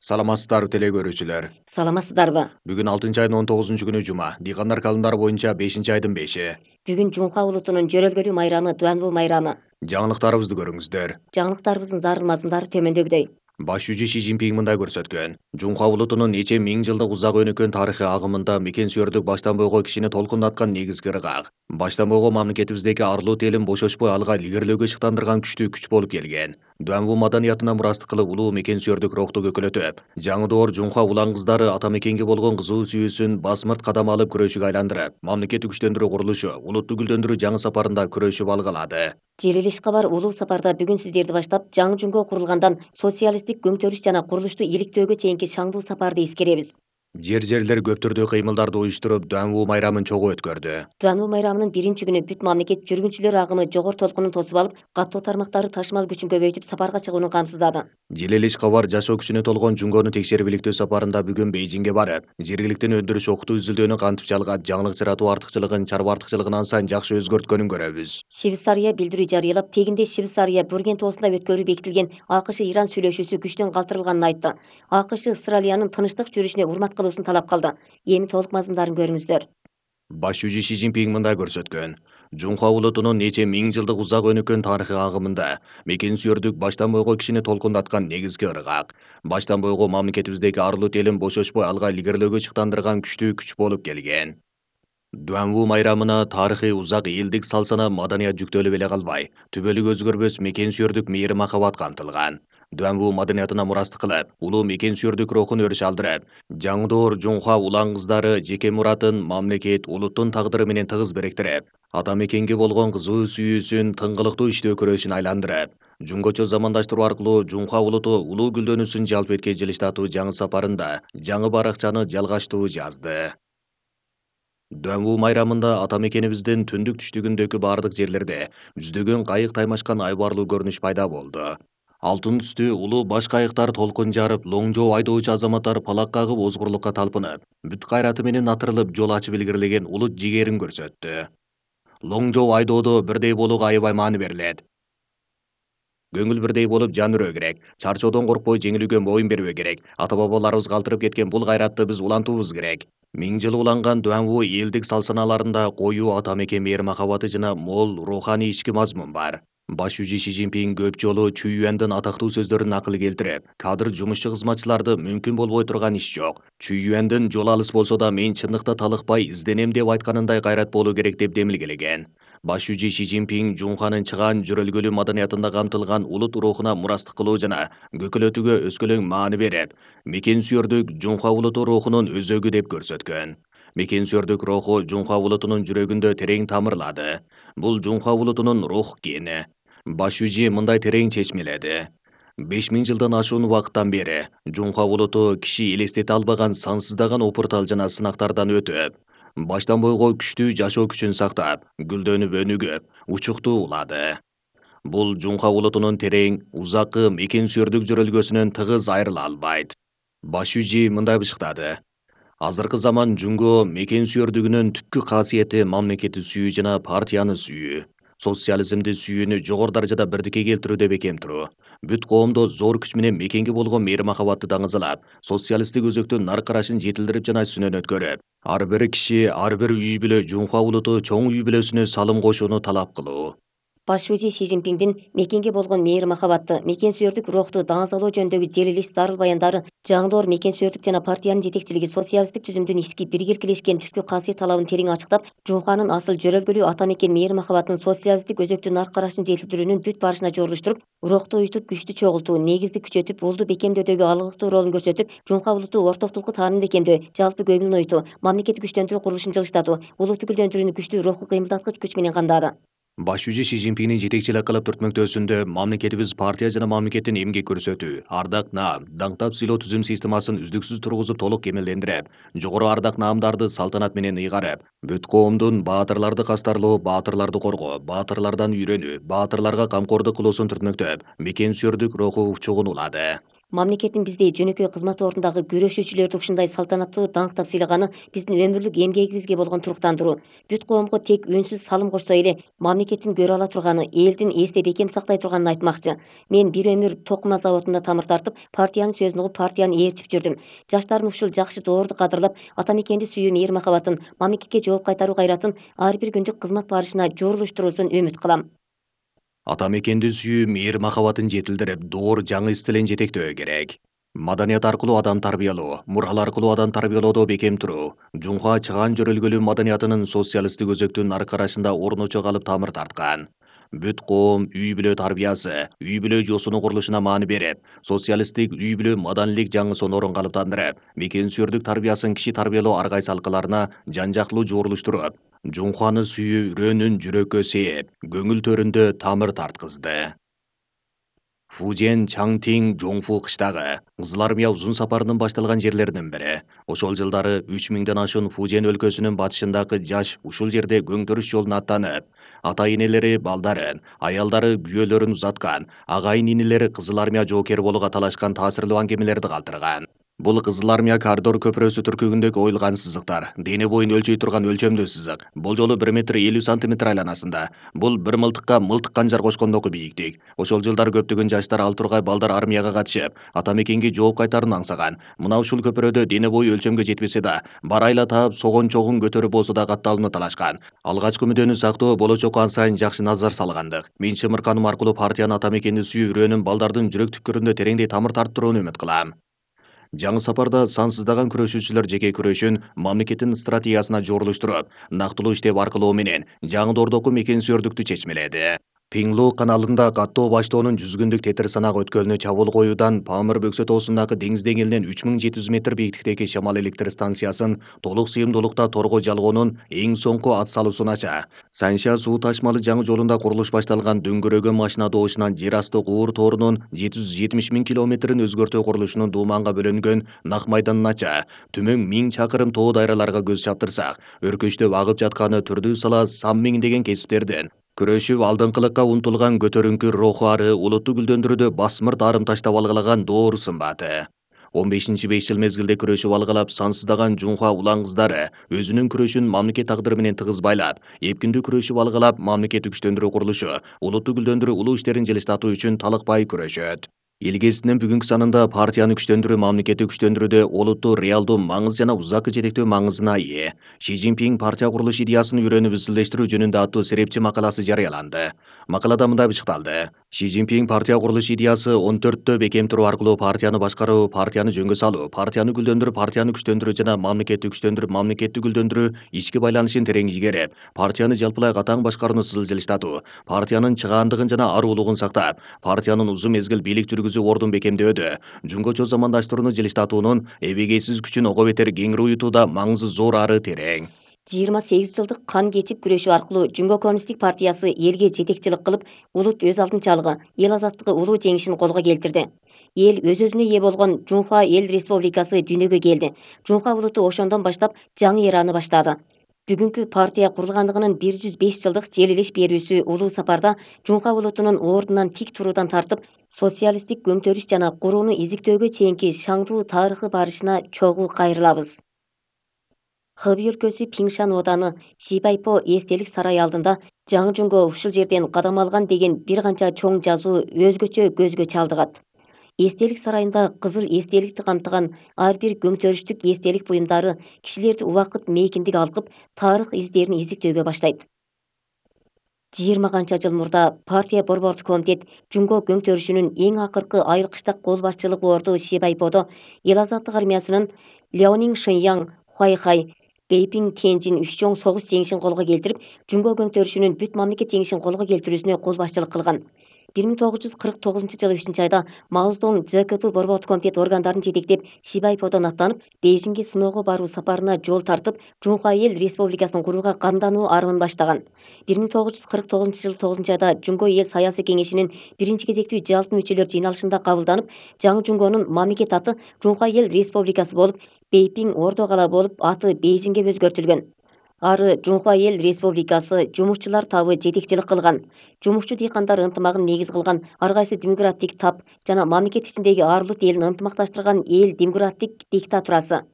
Саламатсыздарбы теле көрүүчүлөр. Саламатсыздарбы? Бүгүн 6 айдын 19-күнү жума. Дыйкандар календары боюнча 5-айдын 5-и. Бүгүн Жумка улутунун жөрөлгөлүү майрамы Дуанбул майрамы. Жаңылыктарыбызды көрүңүздөр. Жаңылыктарыбыздын зарыл мазмундары төмөндөгүдөй. Баш жүзү Си Цзиньпин мындай көрсөткөн. Жумка улутунун нече миң жылдык узак өнүккөн тарыхый агымында мекен сүйөрдүк баштан бойго кишини толкундаткан негизги ыргак. Баштан бойго мамлекетибиздеги арлуу телин бошошпой алга илгерилөөгө шыктандырган күчтүү күч болуп келген. Дуанбу маданиятына мурастык кылып улуу мекен сүйөрдүк рухту көкөлөтүп, жаңы доор Жумка улан кыздары ата мекенге болгон кызуу сүйүүсүн басмырт кадам алып күрөшүгө айландырып, мамлекетти күчтөндүрүү курулушу, улутту гүлдөндүрүү жаңы сапарында күрөшүп алга алады. Желилиш кабар улуу сапарда бүгүн сиздерди баштап жаңы жумго курулгандан социалисттик көңтөрүш жана курулушту иликтөөгө чейинки шаңдуу сапарды эскеребиз. Жерлер көп түрдүү кыймылдарды уюштуруп, Дуанбу майрамын чогуу өткөрдү. Дуанбул майрамынын биринчи күнү бүт мамлекет жүргүнчүлөр агымы жогору толкунун тосуп алып, каттоо тармактары ташмал күчүн көбөйтүп сапарга чыгууну камсыздады. Желелиш кабар жашоо күчүнө толгон жумгону текшерип иликтөө сапарында бүгүн Бейжиңге барып, жергиликтен өндүрүш окутуу изилдөөнү кантип жалгап, жаңылык жаратуу артыкчылыгын, чарба артыкчылыгын ан сайын жакшы өзгөрткөнүн көрөбүз. Швейцария билдирүү жарыялап, тегинде Швейцария Бүрген тоосунда өткөрүү бекитилген АКШ-Иран сүйлөшүүсү күчтөн калтырылганын айтты. АКШ Австралиянын тынчтык жүрүшүнө урмат кылуусун талап кылды. Эми толук мазмундарын көрүңүздөр. Баш жүзү Си Цзиньпин мындай көрсөткөн. Жумка улутунун нече миң жылдык узак өнүккөн тарыхый агымында мекен сүйөрдүк баштан бойго кишини толкундаткан негизги ыргак. Баштан бойго мамлекетибиздеги арлуу телин бошошпой алга илгерилөөгө чыктандырган күчтүү күч болуп келген. Дуанбу майрамына тарыхый узак элдик салсана маданият жүктөлүп эле калбай, түбөлүк өзгөрбөс мекен сүйөрдүк мээри махабат камтылган. Дуанбу маданиятына мурастык кылып, улуу мекен сүйөрдүк рухун өрүш алдырып, жаңы доор Жумка улан кыздары жеке муратын мамлекет, улуттун тагдыры менен тыгыз бириктирип, ата мекенге болгон кызуу сүйүүсүн тыңгылыктуу иштөө күрөшүн айландырып, жумгочо замандаштыруу аркылуу Жумка улуту улуу гүлдөнүүсүн жалп эткей жылыштатуу жаңы сапарында жаңы баракчаны жалгаштуу жазды. Дуанбу майрамында ата мекенибиздин түндүк түштүгүндөгү бардык жерлерде жүздөгөн кайык таймашкан айбарлуу көрүнүш пайда болду. Алтын түстүү улуу баш кайыктар толкун жарып, лоңжоо айдоочу азаматтар палак кагып озгурлукка талпынып, бүт кайраты менен атырылып жол ачып илгерилеген улут жигерин көрсөттү. Лоңжоо айдоодо бирдей болууга аябай маани берилет. Көңүл бирдей болуп жан үрөө керек, чарчоодон коркпой жеңилүүгө моюн бербөө керек, ата бабаларыбыз калтырып кеткен бул кайратты биз улантуубуз керек. Миң жыл уланган Дуанбу элдик салсаналарында коюу ата мекен мээри махабаты жана мол руханий ички мазмун бар. Баш жүзү Си Цзиньпин көп жолу Чүйюандын атактуу сөздөрүн акыл келтирип, кадыр жумушчу кызматчыларды мүмкүн болбой турган иш жок. Чүйюандын жол алыс болсо да мен чындыкта талыкпай изденем деп айтканындай кайрат болуу керек деп демилгелеген. Баш жүзү Си Цзиньпин Жумканын чыгаан жөрөлгөлүү маданиятында камтылган улут рухуна мурастык кылуу жана көкөлөтүүгө өскөлөң маани берип, мекен сүйөрдүк Жумка улуту рухунун өзөгү деп көрсөткөн. Мекен сүйөрдүк руху Жумка улутунун жүрөгүндө терең тамырлады. Бул Жумка улутунун рух гени. Баш жүзү мындай терең чечмеледи. 5000 жылдан ашуун убакыттан бери Жумка улуту киши элестете албаган сансыздаган опуртал жана сынактардан өтүп, баштан бойго күчтүү жашоо күчүн сактап, гүлдөнүп өнүгүп, учуктуу улады. Бул Жумка улутунун терең, узаккы мекен сүйөрдүк жөрөлгөсүнөн тыгыз айрыла албайт. Баш жүзү мындай бышкады. Азыркы заман жумго мекен сүйөрдүгүнүн түпкү касиети мамлекетти сүйүү жана партияны сүйүү. Социализмди сүйүүнү жогору даражада бирдикке келтирүү деп экем туруу. Бүт коомдо зор күч менен мекенге болгон мээри махабатты даңызалап, социалисттик өзөктүн нар карашын жетилдирип жана үстүнөн өткөрүп, ар бир киши, ар бир үй бүлө Жумка улуту чоң үй бүлөсүнө салым кошууну талап кылуу. Баш жүзү Си Цзиньпиндин мекенге болгон мээри махабатты, мекен сүйөрдүк рухту даңазалоо жөнүндөгү желилиш зарыл баяндары жаңы доор мекен сүйөрдүк жана партиянын жетекчилиги социалисттик түзүмдүн ички биргеликилешкен түпкү касиет талабын терең ачыктап, Жумканын асыл жөрөлгөлүү ата мекен мээри махабатын социалисттик өзөктүн нар карашын жетилдирүүнүн бүт барышына жорулуштуруп, рухту уютуп күчтү чогултуу, негизди күчөтүп, улду бекемдөөдөгү алгылыктуу ролун көрсөтүп, Жумка улуту ортоктулукту таанымын бекемдөө, жалпы көңүлүн оютуу, мамлекетти күчтөндүрүү курулушун жылыштатуу, улутту гүлдөндүрүүнү күчтүү рухку кыймылдаткыч күч менен камдады. Баш жүзү Си Цзиньпиндин жетекчилик кылып түртмөктөөсүндө мамлекетибиз партия жана мамлекеттин эмгек көрсөтүү, ардак наам, даңктап сыйлоо түзүм системасын үздүксүз тургузуп толук кемелдендирип, жогору ардак наамдарды салтанат менен ыйгарып, бүт коомдун баатырларды кастарлоо, баатырларды коргоо, баатырлардан үйрөнүү, баатырларга камкордук кылуусун түртмөктөп, мекен сүйөрдүк руху учугун улады. Мамлекеттин биздей жөнөкөй кызмат ордундагы күрөшүүчүлөрдү ушундай салтанаттуу даңктап сыйлаганы биздин өмүрлүк эмгегибизге болгон туруктандыруу. Бүт коомго тек үнсүз салым кошсо эле мамлекеттин көрө ала турганы, элдин эсте бекем сактай турганын айтмакчы. Мен бир өмүр токума заводунда тамыр тартып, партиянын сөзүн угуп, партияны ээрчип жүрдүм. Жаштардын ушул жакшы доорду кадырлап, ата мекенди сүйүү мейир махабатын, мамлекетке жооп кайтаруу кайратын ар бир күндүк кызмат барышына жорулуштуруусун үмүт кылам. Ата мекенди сүйүү мейир махабатын жетилдирип, доор жаңы стилин жетектөө керек. Маданият аркылуу адам тарбиялоо, мурал аркылуу адам тарбиялоодо бекем туруу. Жунха чыгаан жөрөлгөлүү маданиятынын социалисттик өзөктүн нар карашында орночо калып тамыр тарткан. Бүт коом үй бүлө тарбиясы, үй бүлө жосуну курулушуна маани берип, социалисттик үй бүлө маданилик жаңы сонорун калыптандырып, мекен сүйөрдүк тарбиясын киши тарбиялоо ар кайсы алкаларына жан жактылуу жорулуштуруп, Жунханы сүйүү үрөөнүн жүрөккө сээп, көңүл төрүндө тамыр тарткызды. Фужен Чаңтиң Жоңфу кыштагы Кызыл армия узун сапарынын башталган жерлеринин бири. Ошол жылдары 3000ден ашуун Фужен өлкөсүнүн батышындагы жаш ушул жерде көңтөрүш жолуна аттанып, ата-энелери балдарын, аялдары күйөөлөрүн узаткан, агайын инелери Кызыл армия жоокери болууга талашкан таасирлүү аңгемелерди калтырган. Бул Кызыл армия коридор көпүрөсү түркүгүндөгү оюлган сызыктар, дене боюн өлчөй турган өлчөмдүү сызык. Бул жолу 1 метр 50 сантиметр айланасында. Бул бир мылтыкка мылтык канжар кошкондогу бийиктик. Ошол жылдары көптөгөн жаштар ал тургай балдар армияга катышып, ата мекенге жооп кайтарын аңсаган. Мына ушул көпүрөдө дене бою өлчөмгө жетпесе да, барайла таап согон чогун көтөрүп болсо да катталууну талашкан. Алгачкы мүдөнү сактоо болочокко ан сайын жакшы назар салгандык. Мен чымыркануу аркылуу партиянын ата мекенди сүйүү үрөөнүн балдардын жүрөк түпкүрүндө тереңдей тамыр тарттырууну үмүт кылам. Жаңы сапарда сансыздаган күрөшүүчүлөр жеке күрөшүн мамлекеттин стратегиясына жорулуштуруп, нактылуу иштеп аркылоо менен жаңы доордогу мекен сүйөрдүктү чечмеледи. Пиңлу каналында каттоо баштоонун 100 күндүк тетир санак өткөлүнө чабуул коюудан Памыр бөксө тоосундагы деңиз деңгээлинен 3700 метр бийиктиктеги Шамал электр станциясын толук сыйымдуулукта торго жалгоонун эң соңку ат салуусун ача. Санша суу ташмалы жаңы жолунда курулуш башталган дөңгөрөгөн машина добушунан жер асты куур тоорунун 770 000 километрин өзгөртүү курулушунун дууманга бөлөнгөн нак майданын ача. Түмөң 1000 чакырым тоо дайраларга көз чаптырсак, өркөчтөп агып жатканы түрдүү сала сан миңдеген кесиптердин күрөшүп алдыңкылыкка умтулган көтөрүңкү руху ары улутту гүлдөндүрүүдө басмырт арым таштап алгылаган доору сымбаты. 15-5 жыл мезгилде күрөшүп алгылап сансыздаган Жунха улан кыздары өзүнүн күрөшүн мамлекет тагдыры менен тыгыз байлап, эпкиндүү күрөшүп алгылап мамлекеттик күчтөндүрүү курулушу, улутту гүлдөндүрүү улуу иштерин жылыштатуу үчүн талыкпай күрөшөт. Илгесинин бүгүнкү санында партияны күчтөндүрүү мамлекетти күчтөндүрүүдө олуттуу реалдуу маңыз жана узакы жетектөө маңызына ээ. Ши Цзиньпин партия курулуш идеясын үйрөнүп изилдештирүү жөнүндө аттуу серепчи макаласы жарыяланды. Макалада мындай бычыкталды. Ши Цзиньпин партия курулуш идеясы 14тө бекем туруу аркылуу партияны башкаруу, партияны жөнгө салуу, партияны гүлдөндүрүп, партияны күчтөндүрүү жана мамлекетти күчтөндүрүп, мамлекетти гүлдөндүрүү ички байланышын терең игерип, партияны жалпылай катаң башкарууну сызыл жылыштатуу, партиянын чыгаандыгын жана аруулугун сактап, партиянын узун мезгил бийлик жүргүзүү ордун бекемдөөдө, жөнгөчө замандаштырууну жылыштатуунун эбегейсиз күчүн ого бетер кеңири уютууда маңызы зор ары терең. 28 жылдык кан кечип күрөшүү аркылуу Жүнгө коммунисттик партиясы элге жетекчилик кылып, улут өз алдынчалыгы, эл азаттыгы улуу жеңишин колго келтирди. Эл өз-өзүнө ээ болгон Жунха эл республикасы дүйнөгө келди. Жунха улуту ошондон баштап жаңы эраны баштады. Бүгүнкү партия курулгандыгынын 105 жылдык желилиш берүүсү улуу сапарда Жунха улутунун ордунан тик туруудан тартып, социалисттик көңтөрүш жана курууну изиктөөгө чейинки шаңдуу тарыхы барышына чогуу кайрылабыз. Хэби өлкөсү Пиңшан ооданы Шибайпо эстелик сарайы алдында жаңы Жунго ушул жерден кадам алган деген бир канча чоң жазуу өзгөчө көзгө чалдыгат. Эстелик сарайында кызыл эстеликти камтыган ар бир көңтөрүштүк эстелик буюмдары кишилерди убакыт мейкиндик алкып, тарых издерин изиктөөгө баштайт. 20 канча жыл мурда партия борбордук комитет Жунго көңтөрүшүнүн эң акыркы айылкыштак кол башчылык орду Шибайподо эл азаттык армиясынын Леонин Шэньян, Хуайхай, Бейпин Тенжин үч чоң согуш жеңишин колго келтирип, Жунго көңтөрүшүнүн бүт мамлекет жеңишин колго келтирүүсүнө кол башчылык кылган. 1949 жылы 3 айда Маоздон ЖКП борбордук комитет органдарын жетектеп Шибайподон аттанып, Бейжиңге сыноого баруу сапарына жол тартып, Жунха эл республикасын курууга камдануу арымын баштаган. 1949 жылы 9 айда Жунго эл саясий кеңешинин биринчи кезектүү жалпы мүчөлөр жыйналышында кабылданып, жаңы Жунгонун мамлекет аты Жунха эл республикасы болуп, Бейпиң ордо кала болуп аты Бейжиңге өзгөртүлгөн. Ары Жунхва Эл Республикасы жумушчулар табы жетекчилик кылган. Жумушчу дыйкандар ынтымагын негиз кылган ар кайсы демократик тап жана мамлекет ичиндеги ар улут элин ынтымакташтырган эл демократик диктатурасы.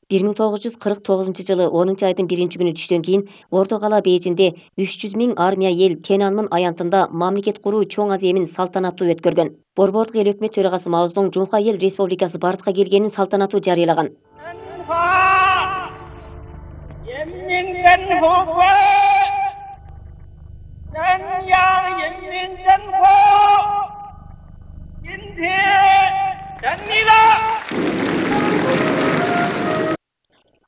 1949 жылы 10 айдын 1-күнү түштөн кийин Ордо кала Бейжинде 300 000 армия эл Тенанмын аянтында мамлекет куруу чоң аземин салтанаттуу өткөргөн. Борбордук эл өкмөт төрагасы Мао Цзэдун Жунхва Эл Республикасы бардыкка келгенин салтанаттуу жарыялаган.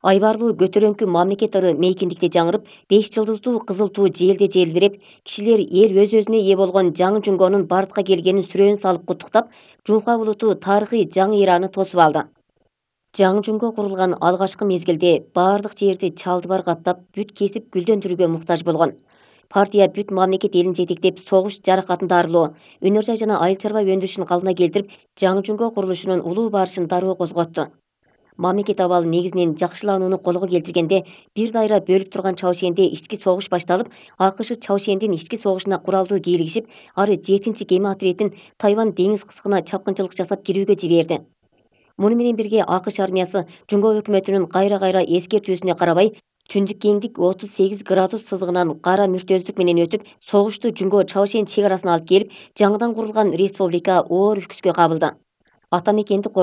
Айбарлуу көтөрөңкү мамлекет ыры мейкиндикте жаңырып, 5 жылдыздуу кызыл туу желде желбиреп, кишилер эл өз-өзүнө ээ болгон жаңы Жунгонун бардыкка келгенин сүрөөн салып куттуктап, Жунхва улуту тарыхый жаңы эраны тосуп алды. Жаңы Жунго курулган алгачкы мезгилде бардык жерди чалдыбар каптап, бүт кесип гүлдөндүрүүгө муктаж болгон. Партия бүт мамлекет элин жетектеп, согуш жаракатын дарылоо, өнөр жай жана айыл чарба өндүрүшүн калдына келтирип, жаңы Жунго курулушунун улуу барышын дароо козготту. Мамлекет абалы негизинен жакшыланууну колго келтиргенде, бир дайра бөлүп турган Чаошенде ички согуш башталып, АКШ Чаошендин ички согушуна куралдуу кийлигишип, ары 7 кеме отрядын Тайвань деңиз кыскына чапкынчылык жасап кирүүгө жиберди. Муну менен бирге АКШ армиясы Жунго өкмөтүнүн кайра-кайра эскертүүсүнө карабай, түндүк кеңдик 38 градус сызыгынан кара мүртөздүк менен өтүп, согушту Жунго Чаошен чек арасына алып келип, жаңыдан курулган республика оор үркүскө кабылды. Ата мекенди